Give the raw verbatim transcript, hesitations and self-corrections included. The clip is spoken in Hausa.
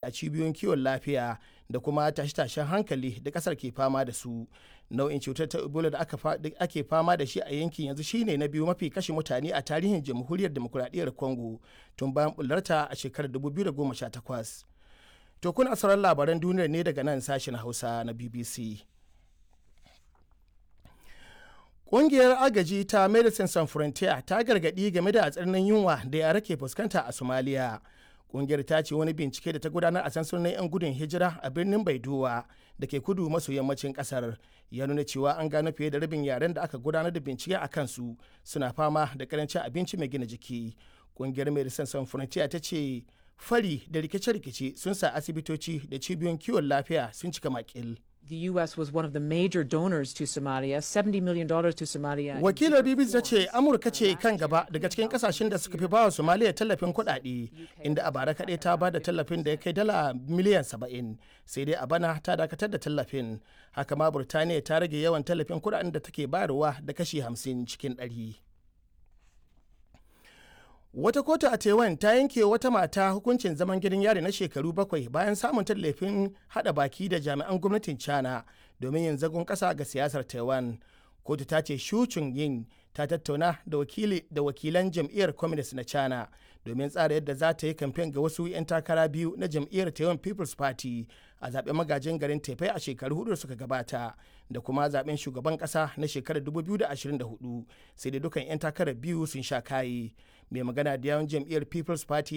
A cibiyoyin kiwon lafiya da kuma tashe-tashen hankali da kasar ke fama da su. Nau'in cutar ta Ebola da ake fama da shi a yankin yanzu shine na biyu mafi kashe mutane a tarihin Jamhuriyar Dimokuraɗiyyar Congo tun bayan bullarta a shekarar dubu biyu da goma sha takwas. To, kuna sauran labaran duniyar ne daga nan sashen Hausa na B B C. Ƙungiyar agaji ta Medecines Sans Frontieres ta gargaɗi game da tsananin yunwa da yara ke fuskanta a Somalia. Ƙungiyar ta ce wani bincike da ta gudanar a sansanonin 'yan gudun hijira a birnin Baidowa da ke kudu maso yammacin ƙasar ya nuna cewa an gano fiye da rabin yaren da aka gudanar da bincike a kansu suna fama da karancin abinci mai gina jiki. Ƙungiyar Medecines Sans Frontieres ta ce fari da rikice-rikice sun sa asibitoci da cibiyoyin kiwon lafiya sun cika makil. The U S was one of the major donors to Somalia, seventy million dollars to Somalia. Wakilar B B C ta ce Amurka ce kan gaba daga cikin kasashen da suka fi bawa Somalia tallafin kuɗaɗe, inda a bara kaɗai ta ba da tallafin da ya kai dala miliyan saba'in, sai dai a bana ta dakatar da tallafin. Haka ma Burtaniya ta rage yawan tallafin kuɗaɗen da take bayarwa da kashi hamsin cikin ɗari. Wata kotu a Taiwan ta yanke wata mata hukuncin zaman gidan yari na shekaru bakwai bayan samun tallafin hada baki da jami'an gwamnatin China domin yin zagon kasa ga siyasar Taiwan. Kotu ta ce Shu Yin ta tattauna da wakili da wakilan jam'iyyar Communist na China domin tsara yadda za ta yi kamfen ga wasu 'yan takara biyu na jam'iyyar Taiwan People's Party a zaben magajin garin Taipei a shekaru hudu da suka gabata da kuma zaben shugaban kasa na shekarar dubu biyu da ashirin da huɗu, sai dai dukan 'yan takarar biyu sun sha kayi. Mai magana da yawun jam'iyyar People's Party